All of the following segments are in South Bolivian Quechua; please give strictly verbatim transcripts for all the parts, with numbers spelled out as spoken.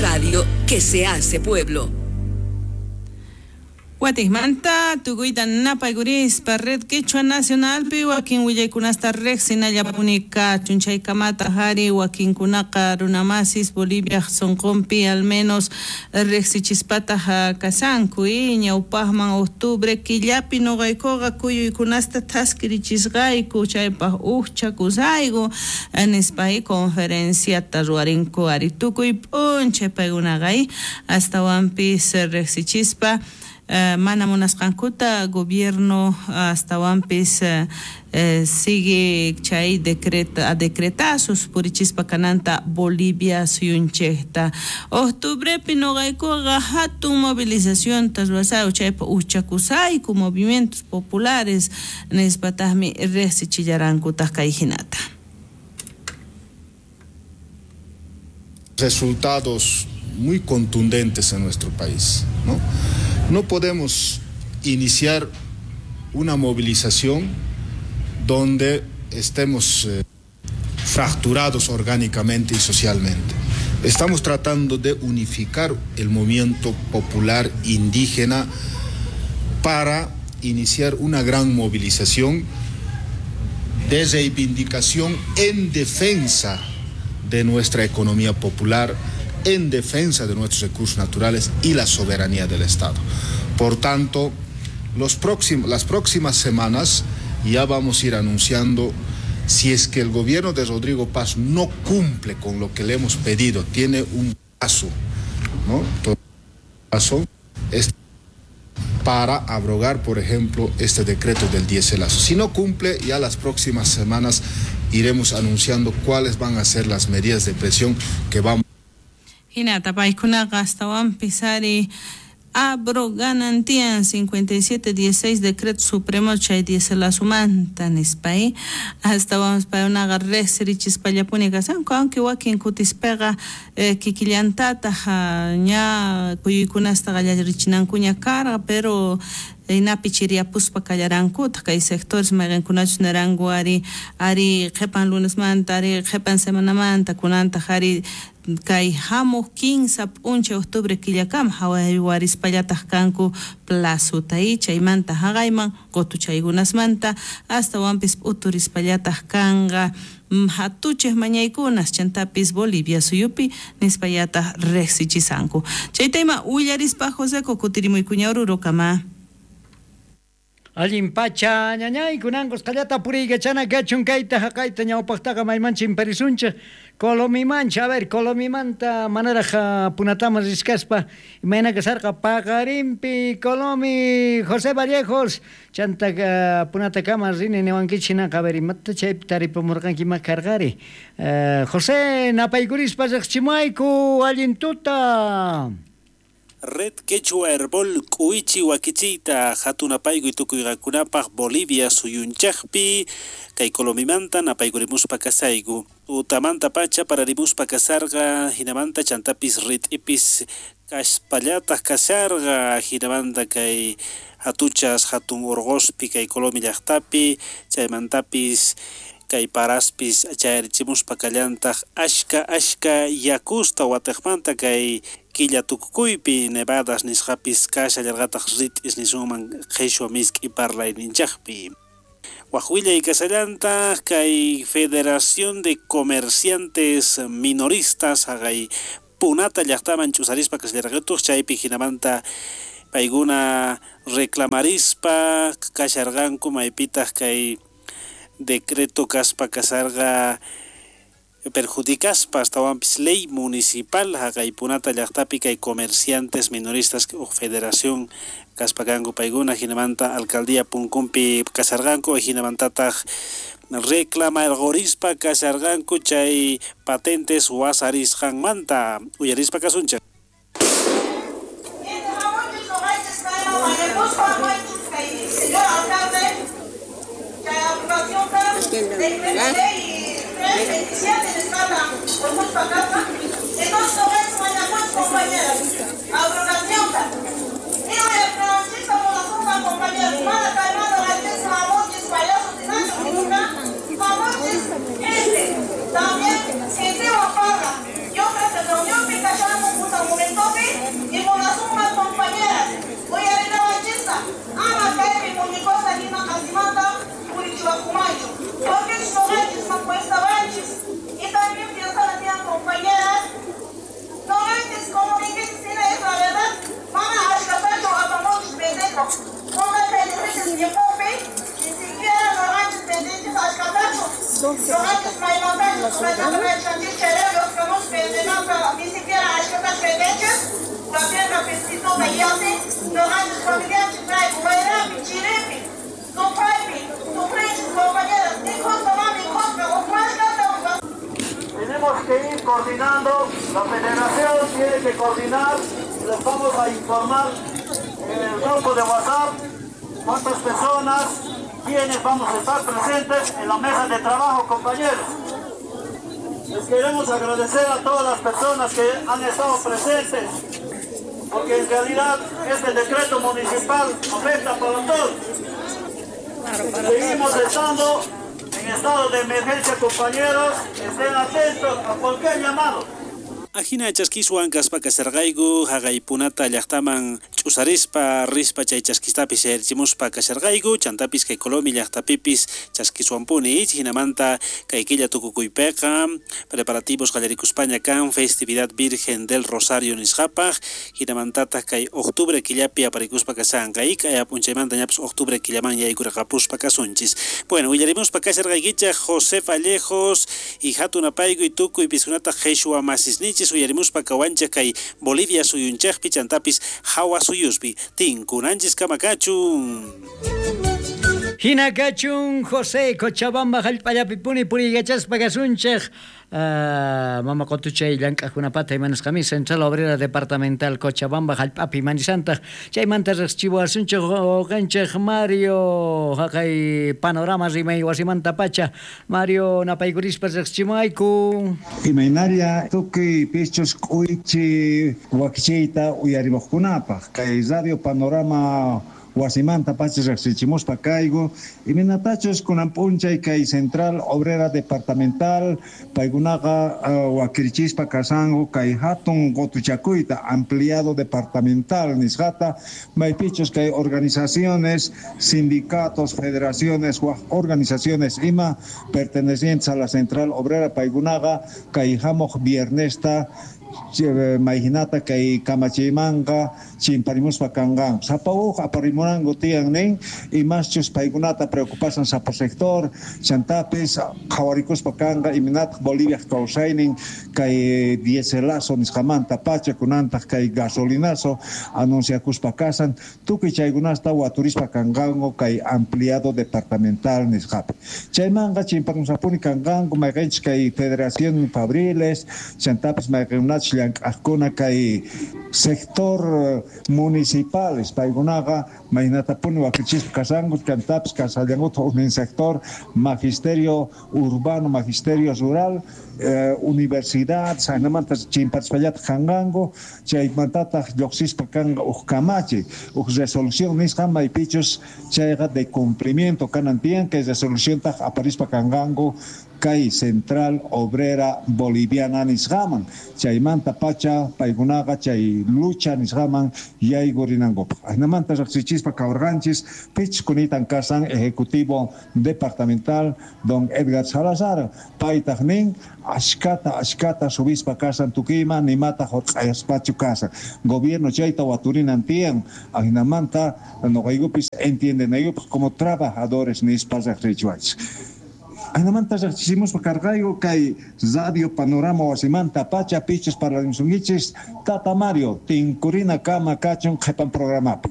radio que se hace pueblo. Watikmanta tukuyta napaykurispa Red Quechua Nacionalpi wakin willaykunasta riqsinallapuni kachun chaykamata hari wakinkunaqa runamasis Bolivia sunqunpi al menos riqsichispataq kasanku y ñawpaqman octubre killapi nuqaykuqa kuyuykunasta thaskirichisqayku chaypaq uqchakusayku nispa conferenciata ruwarinku ari tukuy p'unchay paykunaqa astawanpis riqsichispa Uh, mana munasqankuta gobierno astawanpis uh, eh, sigue chay decreta a decretazos purichispa kananta Bolivia suyunchejta octubrepi nuqaykuqa hatun movilización ruwasayku chaypa uchakusayku movimientos populares nispataqmi riqsichillarankutaq kay hinata. Resultados muy contundentes en nuestro país, ¿no? No podemos iniciar una movilización donde estemos eh, fracturados orgánicamente y socialmente. Estamos tratando de unificar el movimiento popular indígena para iniciar una gran movilización de reivindicación en defensa de nuestra economía popular, en defensa de nuestros recursos naturales y la soberanía del Estado. Por tanto, los próximos, las próximas semanas ya vamos a ir anunciando si es que el gobierno de Rodrigo Paz no cumple con lo que le hemos pedido, tiene un paso, ¿no? Paso es para abrogar, por ejemplo, este decreto del dieselazo. Si no cumple, ya las próximas semanas iremos anunciando cuáles van a ser las medidas de presión que vamos. Hinata paykunaqa astawanpis ari abroganan tiyan cincuenta y siete dieciséis decreto supremo chay dieselazumanta nispa astawanpis paykunaqa riqsirichispallapuni kasanku aunque wakin kutispaqa eh, kikillantataq ña kuyuykunasta qallarichinankuña karqa pero inapi chiriyapuspa kallarankutaq kay sectores mayqinkunachus naranku ari ari qhipan lunesmanta ari qhipan semanamanta kunantaq ari kay hamuq quince p'unchay octubre killakama hawaywarispallataq kanku plazota y chaymanta haqayman qutuchaykunasmanta astawanpis p'uturispallataq kanqa hatuchej mañaykunas chantapis Bolivia suyupi nispallataq riqsichisanku. Chayta ima willarispa Joseco kutirimuykuña Orurokama. Allin pacha ñañay kunankos qallata puriykachana kachun kayta haqayta ñawpaqtaqa maymancha imparisunchik Colomimancha, a ver, Colomimanta manaraq punataman riskaspa imayna kasarqa paqarinpi Colomi José Vallejos chanta punatakama rini niwankichik hinaqa a ver imata chaypi taripamurqanki ima karqari uh, José napaykurispa riqchimayku allin tuta. Red Quechua Herbol K'uichi wakichiyta hatun apaykuy tukuyqakunapaq Bolivia suyunchaqpi kay Colomimanta napaykurimuspa kasayku utamanta pacha pararimuspa kasarqa hinamanta chantapis rit'ipis kaspallataq kasarqa hinamanta kay hatuchas hatun urquspi kay Colomi llaqtapi chaymantapis kay paraspis chayarichimuspa kallantaq ashka ashka yakusta watiqmanta kay killa tukukuypi nevadas nisqapis kashallarqataq rit'is nisunman qhishwa misk'i parlayninchaqpi. Waq willay kasallantaq kay Federación de Comerciantes Minoristas haqay Punata llaqtaman ch'usarispa kashallarqatuq chaypi hinamanta paykuna reclamarispa kasharqanku maypitaq kay decreto kaspa kasarqa perjudicaspa astawanpis ley municipal haqay Punata llaqtapi kay comerciantes minoristas o federación kaspa kanku paykuna hinamanta alcaldía punkunpi kasarqanku hinamantataq reclamarqorispa kasarqanku chay patentes wasarisqanmanta uyarispa kasunchik. También, Diapi, noqanchis familianchis wayrapi, chiripi, sufaypi, sufrinchis compañeras, mikhuspa ma mikhuspa, uqmashkata. Tenemos que ir coordinando, la federación tiene que coordinar, les vamos a informar en el grupo de WhatsApp cuántas personas, quiénes vamos a estar presentes en la mesa de trabajo, compañeros. Les queremos agradecer a todas las personas que han estado presentes, porque en realidad este decreto municipal afecta para todos. Seguimos estando en estado de emergencia, compañeros, estén atentos a cualquier llamado. Ajina chaskiswan kaspa kasharqayku haqaypunata llaqtaman ch'usarispa rispa chay chaskistapis sayarichimuspa kasharqayku chantapis kay Colomi llaqtapipis chaskiswanpuni hinamanta kay killa tukukuypiqa preparativos qallarikuspaña kan Festividad Virgen del Rosario nisqapaq hinamantataq kay octubre killapi aparikuspa kashanqa kay p'unchaymanta ñapis octubre killaman yaykurqapuspa kasunchis. Bueno, willarimuspa kasharqaykichaq José Vallejos y hatun apayku y tukuy piskunata qheshwa masisnichis uyarimuspa kawanchaq kay Bolivia suyunchaqpi chantapis hawa suyuspi tinkunanchis kama kachun. Hina kachun José Cochabamba hallp'allapi puriykachaspa kasunchaq uh, mama qotuchay llank'aqkunapata imanasqami Central Obrera Departamental Cochabamba hallp'api manisantaq chaymanta riqsichiwasunchaq uqanchaq Mario haqay Panorama rimay wasimanta pacha Mario napaykurispa riqsichimuayku. Imaynalla tukuy pichus k'uychi wakichiyta uyarimuqkunapaq kay Radio Panorama wasimanta pacha riqsichimuspa kayku imaynatachus kunan p'unchay kay Central Obrera Departamental paykunaqa uh, wakirichispa kasanku kay hatun qotuchakuyta ampliado departamental nisqata maypichus kay organizaciones, sindicatos, federaciones, waj organizaciones ima pertenecientes a la Central Obrera paykunaqa kay hamuq viernesta mayhinata kay kamachiymanqa chimparimuspa kanqanku sapa uj aparimunanku tiyan nin imaschus paykunata preocupasan sapa sector chantapis qhawarikuspa kanqa imaynataq Boliviaj kawsaynin kay dieselazo nisqamanta pacha kunantaq kay gasolinazo anunciakuspa kasan tukuy chaykunasta waturispa kanqanku kay ampliado departamental nisqapi chaymanqa chimparimusapuni kanqanku mayqinchis kay Federación Fabriles chantapis mayqinkunachus llank'aqkuna kay sector municipales paykunaqa maynatapuni wakichispa kasanku chantapis kasallankuta ujnin sector magisterio urbano, magisterio rural, eh, universidad saynamanta chimparispallataq kanqanku chaymantataq lluqsispa kanqa uj kamachi uj resolución nisqa maypichus chayqa de cumplimiento kanan tiyan kay resoluciontaq aparispa kanqanku kay Central Obrera Boliviana nisqaman chaymanta pacha paykunaqa chay lucha nisqaman yaykurinankupaq ajinamanta riqsichispa kawrqanchis pichus kunitan kasan ejecutivo departamental don Edgar Salazar paytaq nin ashkata ashkata subispa kasan tukuyman nimataq hurq'ayaspachu kasan gobierno chayta waturinan tiyan ajinamanta noqaykupis entiendenaykupaq como trabajadores nispa riqsichiwanchis. Ajinamanta riqsichimuspa karqayku kay Radio Panorama wasimanta pacha pichus parlarimusunkichis Tata Mario tinkurina kama kachun qhipan programapi.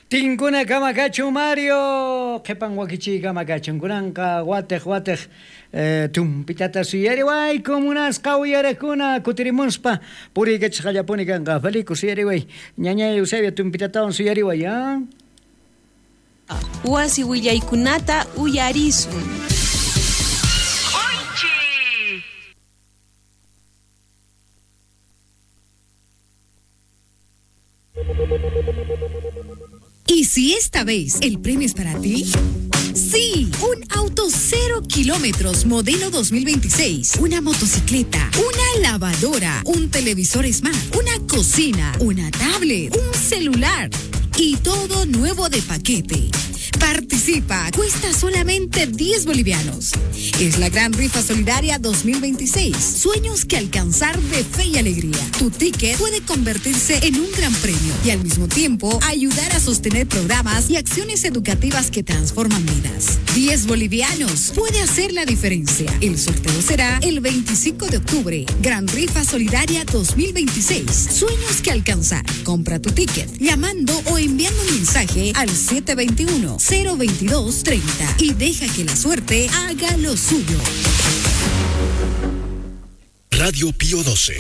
Tinkuna kama kachun Mario qhipan wakichiy kama kachun kunanqa watiq watiq eh, tumpitata suyariwayku munasqa uyariqkuna kutirimuspa puriykachasqallapuni kanqa Felico suyariway ñañay Eusebio tumpitatawan suyariway ah? Wasi willaykunata uyarisun. ¿Y si esta vez el premio es para ti? Sí, un auto cero kilómetros modelo dos mil veintiséis, una motocicleta, una lavadora, un televisor smart, una cocina, una tablet, un celular y todo nuevo de paquete. Participa, cuesta solamente diez bolivianos. Es la gran rifa solidaria dos mil veintiséis. Sueños que alcanzar de fe y alegría. Tu ticket puede convertirse en un gran premio y al mismo tiempo ayudar a sostener programas y acciones educativas que transforman vidas. diez bolivianos puede hacer la diferencia. El sorteo será el veinticinco de octubre. Gran Rifa Solidaria dos mil veintiséis. Sueños que alcanzar. Compra tu ticket llamando o enviando un mensaje al siete veintiuno, cero veintidós, treinta y deja que la suerte haga lo suyo. Radio Pío doce.